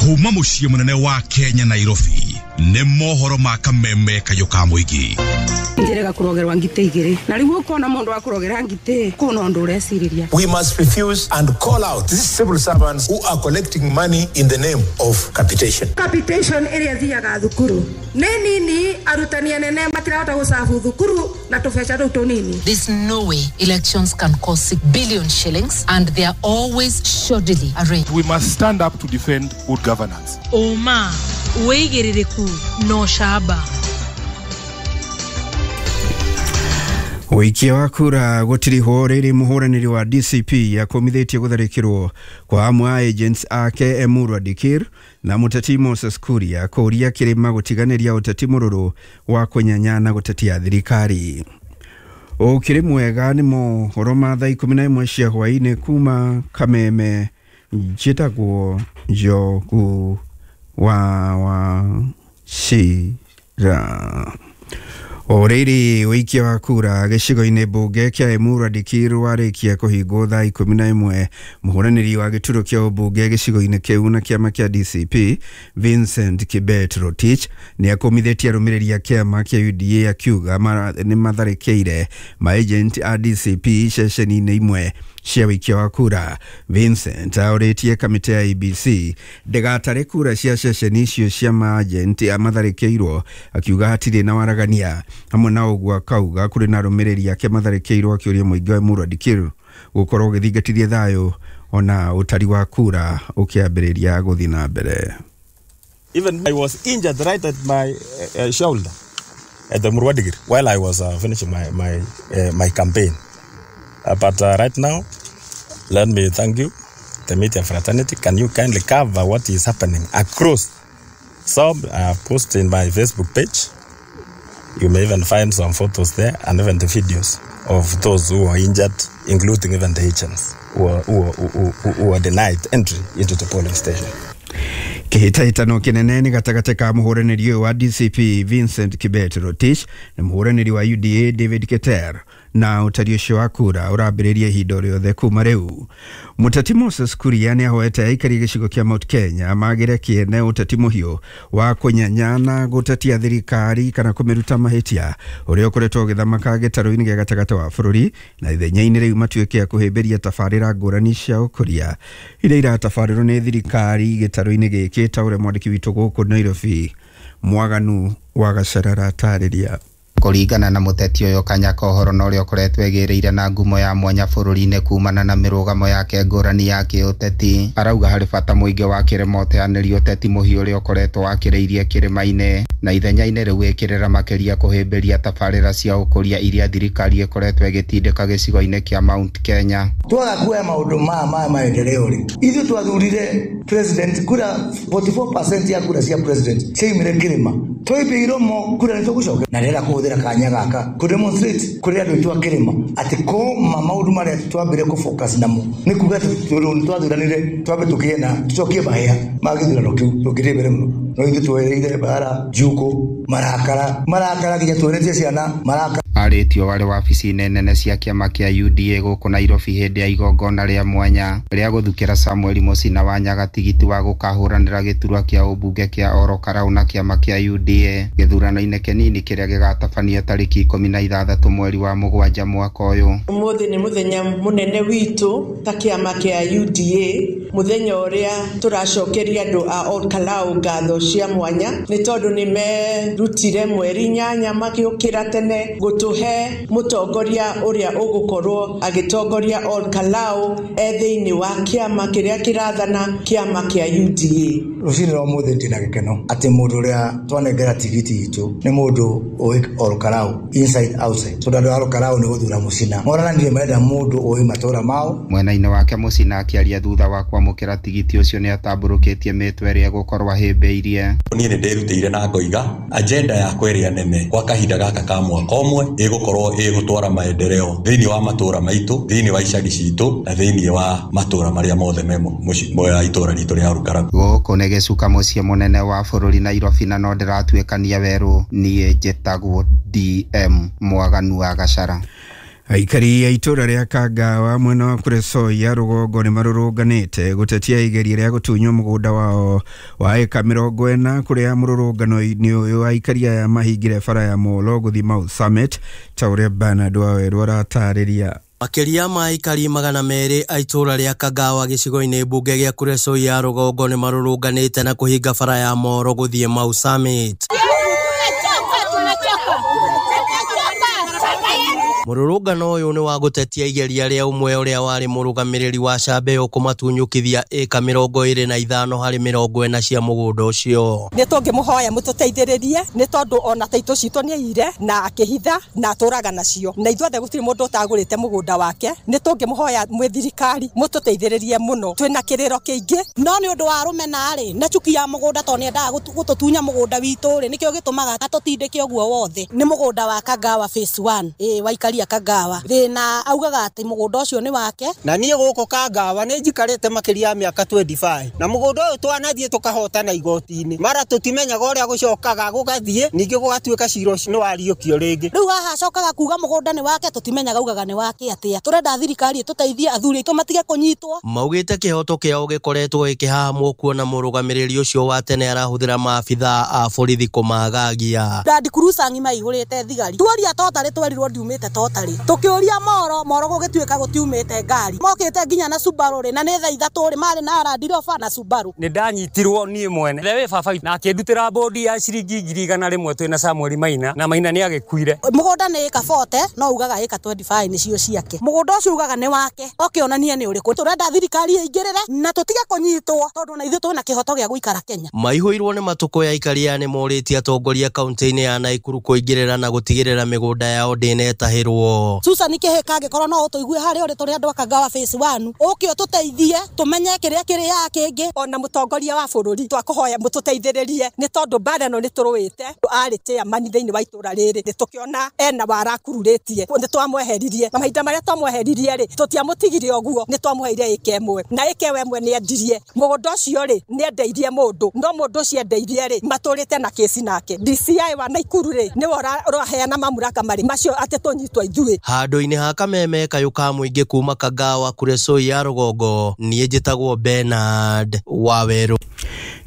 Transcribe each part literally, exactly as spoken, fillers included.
Kuma muciĩ munene wa Kenya Nairobi nĩ mohoro ma kameme kayũ ka mũingĩ. Njirega kurogerwa ngite igiri na riu ukona mundu wa kurogera ngite kuna undu ureciriria. We must refuse and call out these civil servants who are collecting money in the name of capitation. Capitation iria thiaga thukuru ni nini arutani anene matirahota gucabu thukuru na tubeca tuu tunini. There's no way elections can cost six billion shillings and they are always shoddily arranged. We must stand up to defend good governance. Oma wigiririku no shaba. Wikia wa kura gutiriho riri muhuraniri wa D C P yakomithitie gutharikirwo kwa amwe a agents ake Emurua Dikir na muteti Moses Kuria kuria kirima gutiganiria uteti mururu wa kunyanya na gutetia thirikari. Ukiri mwega ni mohoro ma thaa ikumi na imwe cia hwaini kuma Kameme. Njitagwo Njogu wa wa Shira. Oriri wikia wa kura gĩcigo-inĩ mbunge kĩa Emurua Dikir warĩkia kũhingwo thaa ikũmi na ĩmwe. Mũhũranĩri wa gĩturwa kĩa ũmbunge gĩcigo-inĩ kĩu na kĩama kĩa D C P Vincent Kibet Rotich nĩ akũmithĩtie arũmĩrĩri a kĩama kĩa U D A akiuga nĩ matharĩkĩire maagent a D C P ceceni-inĩ imwe cia wikia wa kura. Vincent aũrĩtie kamĩtĩ ya A B C ndĩgatare kura cia ceceni icio cia maagent matharĩkĩirwo akiuga hatirĩ na waragania. Hamwe na ũguo akauga kũrĩ na arũmĩrĩri ake matharĩkĩirwo akĩũria mũingĩ wa Emurua Dikir gũkorwo ũgĩthingatithia thayũ ona ũtari wa kura ũkĩambĩrĩria gũthiĩ na mbere. Even I was injured right at my uh, shoulder at the Emurua Dikir while I was uh, finishing my my uh, my campaign. Uh, but uh, right now, let me thank you, the media fraternity. Can you kindly cover what is happening across? Some I have posted in my Facebook page. You may even find some photos there and even the videos of those who are injured, including even the agents who are, who are, who, who, who are denied entry into the polling station. Kĩhĩtahĩtano kĩnene nĩ gatagatĩ ka mũhũranĩri ũyũ wa D C P Vincent Kibet Rotich na mũhũranĩri wa U D A David Keter na ũtari ũcio wa kura ũrambĩrĩria ihinda rĩothe kuma rĩu. Mũteti Moses Kuria nĩ ahoete aikari gĩcigo kĩa Mount Kenya magĩre kĩene ũteti mũhiũ wa kũnyanya na gũtetia thirikari kana kũmĩruta mahĩtia ũrĩa ũkoretwo ũgĩthamaka gĩtarũ-inĩ gĩa gatagatĩ wa bũrũri na ithenya-inĩ rĩu matuĩke a kũhĩmbĩria tabarĩra ngũrani cia ũkũria iria iratabarĩrwo nĩ thirikari gĩtarũ-inĩ gĩkĩ ta ũrĩa mwandĩki witũ gũkũ Nairobi Mwaganu wa Gacarara atarĩria. Kũringana na mũteti ũyũ Kanyaka ũhoro na ũrĩa ũkoretwo egĩrĩire na ngumo ya mwanya bũrũri-inĩ kumana na mĩrũgamo yake ngũrani ya kĩũteti, arauga harĩ bata mũingĩ wa kĩrĩma ũteanĩria ũteti mũhiũ ũrĩa ũkoretwo wakĩrĩirie kĩrĩma-inĩ na ithenya-inĩ rĩu ĩkĩrĩra makĩria kũhĩmbĩria tabarĩra cia ũkũria iria thirikari ĩkoretwo ĩgĩtindĩka gĩcigo-inĩ kĩa Mount Kenya. Twaga kuoya maũndũ maya ma maendeleo rĩ, ithuĩ twathurire president kura forty-four percent ya kura cia president ciaumire kĩrĩma, twaipia iromo kura nĩ tũgũcoka na rĩera kũhũthĩra kanya gaka kũ demonstrate kũrĩ andũ aitũ a kĩrĩma atĩ kũma maũndũ marĩa twambire kũ focus namo nĩ kuga atĩ tondũ twathuranire twambe tũkĩe na tũcokie mahĩa ma gĩthurano kĩu tũngĩthiĩ mbere mũno. No ithuĩ twereire mbara njuko marakara marakara nginya tuonetie ciana marakara. Arĩtio warĩ wabici-inĩ nene cia kĩama kĩa U D A gũkũ Nairobi hĩndĩ ya igongona rĩa mwanya rĩa gũthukĩra Samuel Mũcina wa Nyaga tigiti wa gũkahũranĩra gĩturwa kĩa ũmbunge kĩa Oro Karau na kĩama kĩa U D A gĩthurano-inĩ kĩnini kĩrĩa gĩgatabanio tarĩki ikũmi na ithathatũ mweri wa mũgwanja mwaka ũyũ. Ũmũthĩ nĩ mũthenya mũnene witũ ta kĩama kĩa U D A, mũthenya ũrĩa tũracokeria andũ a Ol Kalou ngatho cia mwanya nĩ tondũ nĩ merutire mweri inyanya magĩũkĩra tene gũtũhe mũtongoria ũrĩa ũgũkorwo agĩtongoria Ol Kalou e thĩinĩ wa kĩama kĩrĩa kĩrathana kĩama kĩa U D A. Rũcinĩ rwa ũmũthĩ ndĩna gĩkeno atĩ mũndũ ũrĩa twanengera tigiti itũ nĩ mũndũ ũĩ Ol Kalou inside outside, tondũ andũ a Ol Kalou nĩ gũthura Mũcina morananire marenda mũndũ ũĩ matũra mao. Mwena-inĩ wake Mũcina akĩaria thutha wa kwamũkĩra tigiti ũcio nĩ atambũrũkĩtie mĩtwe ĩrĩa egũkorwo ahĩmbĩirie. Niĩ nĩ ndĩrutĩire na ngoiga agenda yakwa ĩrĩa nene kwa kahinda gaka ka mwaka ũmwe ĩgũkorwo ĩgũtwara maendeleo thĩinĩ wa matũra maitũ, thĩinĩ wa icagi citũ na thĩinĩ wa matũra marĩa mothe me mũciĩ itũra ritũ rĩa Ol Kalou. Gũkũ nĩ gĩcuka mũciĩ mũnene wa bũrũri Nairobi na no ndĩratuĩkania werũ. Niĩ njĩtagwo D M Mwaganu wa Gacara. Aikari a itũra rĩa Kangawa mwena wa Kuresoi ya rũgongo nĩ marũrũnganĩte gũtetia igeria rĩa gũtunywo mũgũnda wao wa ĩka mĩrongo ĩna kũrĩa mũrũrũngano-inĩ ũyũ aikari aya mahingire bara ya Molo gũthiĩ Mau Summit ta ũrĩa Bernard Wawerũ aratarĩria. Makĩria ma aikari magana merĩ a itũra rĩa Kangawa gĩcigo-inĩ mbunge gĩa Kuresoi ya rũgongo nĩ marũrũnganĩte na kũhinga bara ya Molo gũthiĩ Mau Summit. Mũrũrũngano ũyũ nĩ wa gũtetia igeria rĩa ũmwe ũrĩa warĩ mũrũgamĩrĩri wa Cambeo kũmatunyũkithia ĩka mĩrongo ĩrĩ na ithano harĩ mĩrongo ĩna cia mũgũnda ũcio. Nĩ tũngĩmũhoya mũtũteithĩrĩrie nĩ tondũ ona taitũ citũ nĩ aiyire na akĩhitha na atũraga nacio na ithuothe gũtirĩ mũndũ ũtagũrĩte mũgũnda wake. Nĩ tũngĩmũhoya mwĩ thirikari mũtũteithĩrĩrie mũno, twĩna kĩrĩro kĩingĩ. No nĩ ũndũ wa rũmena rĩ na chuki ya mũgũnda tondũ nĩendaga gũtũtunya mũgũnda witũ rĩ nĩkĩo gĩtũmaga atũtindĩke ũguo wothe. Nĩ mũgũnda wa Kangawa phase one ĩ waikari Kangawa thina augaga ati mugunda ucio ni wake. Na nie guku Kangawa ni njikarite makiria ya miaka twenty-five na mugunda uyu twanathie tukahotana igoti-ini mara tutimenyaga uria gucokaga gugathie ningi gugatuika cira ucio ni wariukio ringi. Riu haha acokaga kuga mugunda ni wake tutimenyaga augaga ni wake atia. Turenda thirikari ituteithie athuri aitu matige kunyitwo. Maugite kihoto kiao gikoretwo gikihahamwo kuona murugamiriri ucio wa tene arahuthira maabithaa a borithi kumagagia. Land Cruiser ng'ima ihurite thigari tuoria totari twerirwo ndiumite totari tukiuria Moro Moro gugituika gutiumite ngari mokite nginya na Subaru ri na ni thaa ithatu ri mari na Land Rover na Subaru. Ni ndanyitirwo nie mwene we baba na akindutira bodi ya ciringi ngiri igana rimwe twina Samuel Maina na Maina ni agikuire. Mugunda ni ika forty no ugaga ika twenty-five ni cio ciake. Mugunda ucio ugaga ni wake okionania ni uriku. Turenda thirikari ingirire na tutige kunyitwo tondu na ithuĩ twina kihoto gia guikara Kenya. Maihuirwo ni matuko ya ikaria ni moritie atongoria kaunti-ini ya Naikuru kuingirira na gutigirira migunda yao ndinetahirwo. Susan Kihika angikorwo no utuigue haria uri turi andu a Kangawa phase one uke ututeithie tumenye kiria kiri ya kingi. Ona mutongoria wa bururi twakuhoya mututeithiririe ni tondu mbara no ni turuite ari chairman thiini wa itura riri ni tukiona ena warakururitie ni twamweheririe na mahinda maria twamweheririe ri tutiamutigire uguo ni twamuheire ike imwe na ike we ni endirie mugunda ucio ri ni endeirie mundu no mundu ucio endeirie ri maturite na kesi nake. D C I wa Naikuru ri ni uraheana mamuraka mari macio ati tunyitwo ithuĩ. Handũ-inĩ ha kameme kayũ ka mũingĩ kuma Kangawa Kuresoi ya rũgongo niĩ njĩtagwo Bernard Wawerũ.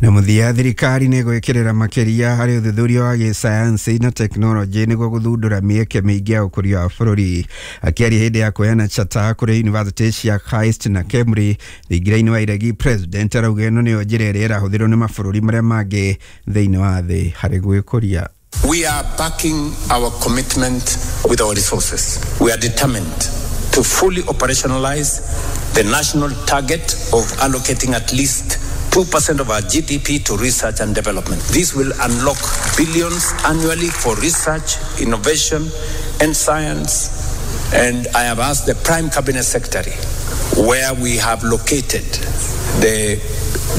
Na mũthia thirikari nĩ gwĩkĩrĩra makĩria harĩ ũthuthuria wa gĩsayansi na tekinoronjĩ nĩguo gũthundũra mĩeke mĩingĩ ya ũkũria wa bũrũri. Akĩaria hĩndĩ ya kũheana chata kũrĩ yunivasĩtĩ cia KAIST na KEMRI thingira-inĩ wa Iregi, President arauga ĩno nĩyo njĩra ĩrĩa ĩrahũthĩrwo nĩ mabũrũri marĩa mangĩ thĩinĩ wa thĩ harĩ gwĩkũria. We are backing our commitment with our resources. We are determined to fully operationalize the national target of allocating at least two percent of our G D P to research and development. This will unlock billions annually for research, innovation, and science. And I have asked the Prime Cabinet Secretary where we have located the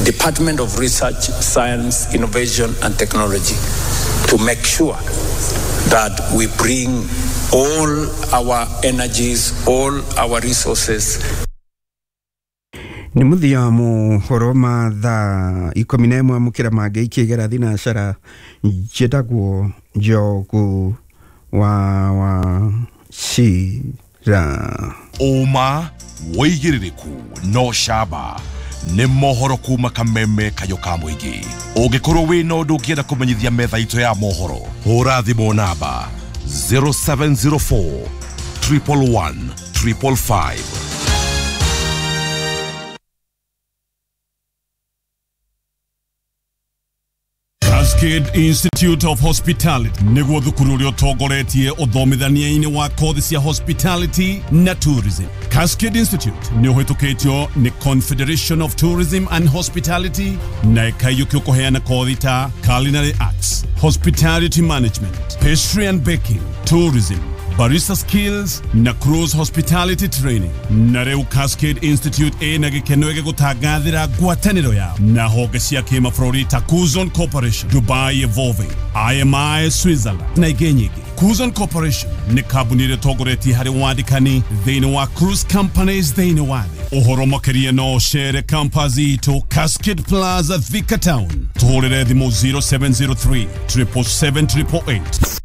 Department of Research, Science, Innovation, and Technology to make sure that we bring all our energies, all our resources. Nĩ mũthia wa mohoro ma thaa ikũmi na ĩmwe amũkĩra mangĩ ikĩgera thinacara njĩtagwo Njogu wa wa Cira. Ũma wĩigĩrĩrĩku no camba nĩ mohoro kuma kameme kayũ ka mũingĩ. Ũngĩkorwo wĩna ũndũ ũngĩenda kũmenyithia metha itũ ya mohoro, hũra thimũ namba zero seven zero four triple one triple five. Cascade Institute of Hospitality nĩguo thukuru ũrĩa ũtongoretie ũthomithania-inĩ wa kothi cia hospitality na tourism. Cascade Institute nĩ ũhĩtũkĩtio nĩ Confederation of Tourism and Hospitality na ĩkaiyũkio kũheana kothi ta culinary arts, hospitality management, pastry and baking, tourism, barista skills na cruise hospitality training. Na rĩu Cascade Institute ĩna gĩkeno gĩgũtangathĩra ngwatanĩro yao na honge cia kĩmabũrũri ta Kuzon Corporation, Dubai Evolving, I M I Switzerland na ingĩ nyingĩ. Kuzon Corporation nĩ kambuni ĩrĩa ĩtongoretie harĩ wandĩkani thĩinĩ wa cruise companies thĩinĩ wa thĩ. Ũhoro makĩria no ũcere campus itũ Cascade Plaza, Thika Town. Tũhũrĩre thimũ zero seven zero three triple seven triple eight.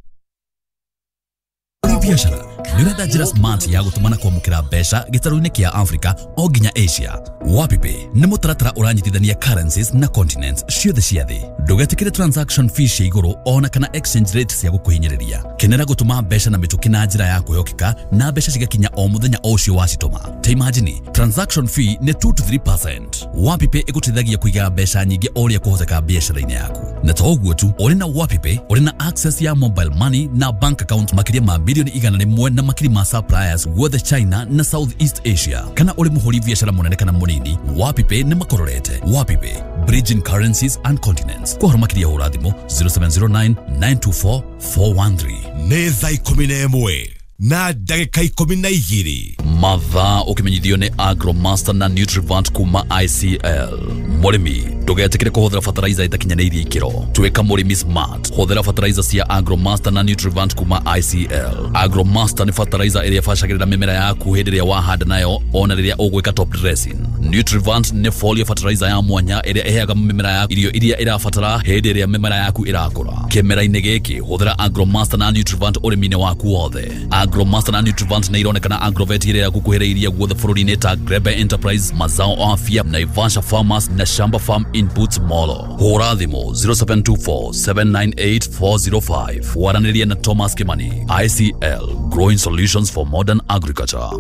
Biashara Nĩ ũrenda njĩra smart ya gũtũma na kwamũkĩra mbeca gĩtarũ-inĩ kĩa Africa o nginya Asia? WapiPay nĩ mũtaratara ũranyitithania currencies na continents ciothe cia thĩ. Ndũgetĩkĩre transaction fees cia igũrũ ona kana exchange rate cia gũkũhinyĩrĩria. Kenera gũtũma mbeca na mĩtũkĩ na njĩra ya kwĩhokeka na mbeca cigakinya o mũthenya o ũcio wacitũma. Ta imagine, transaction fee nĩ two to three percent. WapiPay ĩgũteithagia kũiga mbeca nyingĩ o ũrĩa kũhoteka biacara-inĩ yaku. Na to ũguo tu, ũrĩ na WapiPay ũrĩ na access ya mobile money na bank account makĩria ma bilioni igana rĩmwe na makiri ma suppliers guothe China na South East Asia. Kana ũrĩ mũhũri biacara mũnene kana mũnini, WapiPay nĩ makororete. WapiPay, bridging currencies and continents. Kwa ũhoro makĩria hũra thimũ zero seven zero nine nine two four four one three. Nĩ thaa ikũmi na ĩmwe na ndagĩka ikũmi na igĩrĩ. Mathaa ũkĩmenyithio nĩ Agromaster na Nutrivant kuma I C L. Mũrĩmi, ndũgetĩkĩre kũhũthĩra fertilizer ĩtakinyanĩirie ikĩro. Tuĩka mũrĩmi smart, hũthĩra fertilizer cia Agromaster na Nutrivant kuma I C L. Agromaster nĩ fertilizer ĩrĩa ĩbacagĩrĩra mĩmera yaku hĩndĩ ĩrĩa wahanda nayo ona rĩrĩa ũgwĩka top dressing. Nutrivant nĩ foliar fertilizer ya mwanya ĩrĩa ĩheaga mĩmera yaku irio iria ĩrabatara hĩndĩ ĩrĩa mĩmera yaku ĩrakũra. Kĩmera-inĩ gĩkĩ hũthĩra Agromaster na Nutrivant ũrĩmi-inĩ waku wothe. Agromaster na Nutrivant nĩ ironekana agrovet ĩrĩa ĩrakuhĩrĩirie guothe bũrũri-inĩ ta Grebe Enterprise, Mazao Afya, Naivasha Farmers na Shamba Farm Inputs Molo. Hũra thimũ zero seven two four seven nine eight four zero five waranĩrie na Thomas Kimani. I C L, growing solutions for modern agriculture.